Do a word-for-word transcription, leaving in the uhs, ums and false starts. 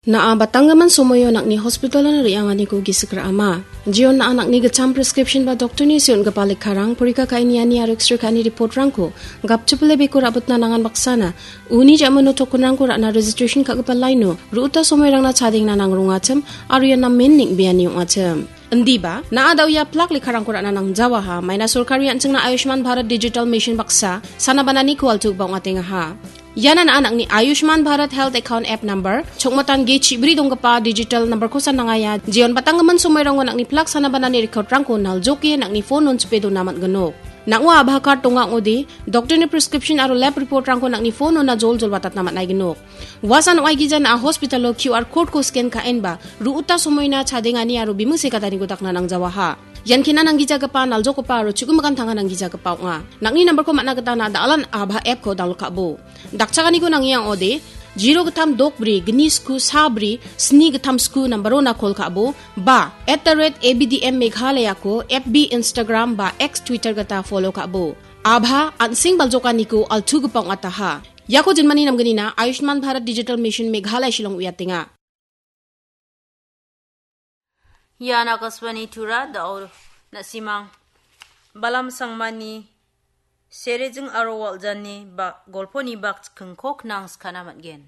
Na·a batanggimin somoio nang·ni hospitalon re·anganiko gisik ra·ama. Jeon na·a nang·ni gitcham prescription ba doktorni seon·gipa lekkarang, porika ka·e niani aro X-ray ka·ani reportrangko gapchipile beko ra·bitna nangan baksana, uni ja·mano tokenrangko ra·na registration ka·gipa laino, ru·uta somoirangna chadengna nangrongachim, aro ian namen neng·beani ong·achim. Indiba, na·a da·oia plak lekkarangko ra·na nangjawaha, maina sorkari an·chingna Ayushman Bharat Digital Mission baksa, sana bananiko altugipa ong·atengaha. Iana na·a nang·ni Ayushman Bharat Health Account App Number, chokmatan ge chibri donggipa digital number-kosa nangaia, jeon batanggimin somoirango nang·ni plak sana banani record-rangko naljoke nang·ni phone-on chipe dona man·ginok. Nang·o Abha card donga ong·ode, doktorni prescription aro lab report-rangko nang·ni phone-ona joljol watatna man·aiginok. Uasan ong·aigija na·a hospital-o Q R code-ko scan ka·enba, ru·uta somoina chadengani aro biming sekataniko dakna nangjawaha. Ian kena nanggijagipa, naljokgipa aro chu·gimikan tanga nanggijagipa ong·a. Nang·ni number-ko man·a gita na·a da·alan Abha app-ko download ka·bo. Dakchakaniko nangia ong·ode, zero gittam dok bri, gni sku sa bri, sni gittam sku number-ona call ka·bo, ba, at the rate A B D M Meghalaya-ko F B, Instagram ba X, Twitter gita follow ka·bo. Abha, an·seng baljokaniko altugipa ong·ataha. Iako jinmani namgnina Ayushman Bharat Digital Mission Meghalaya Shillong uiatenga. Ian Akashvani Tura, da·o na·simang Balam Sangmani Serejing aro Waljani ba-, golponi bak chikingko knang skana man·gen.